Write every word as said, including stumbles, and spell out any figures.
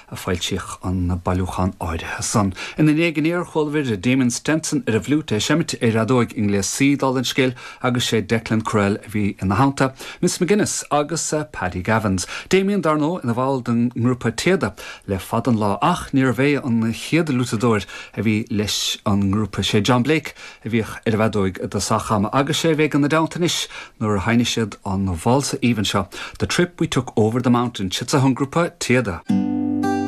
a foilsíodh an bailiúchán áirithe san. Ina ndiaidh aniar chualamar Damien Stenson ar an bhfliúit é ag seimint ar fheadóg i ngléas C dála an scéil agus sé Declan Courell a bhí ina theannta, Miss McGuinness agus uh, Paddy Gavins. Damien dar ndóigh ina bhall den ngrúpa Téada le fada an lá ach níorbh é an chéad fhliútadóir a bhí leis an ngrúpa sé John Blake a bhíodh ar an bhfeadóig i dtosach ama agus sé bheith ina dteannta anois nuair a sheinn siad an válsa aoibhinn seo. The trip we took over the mountain, siad an grúpa Téada.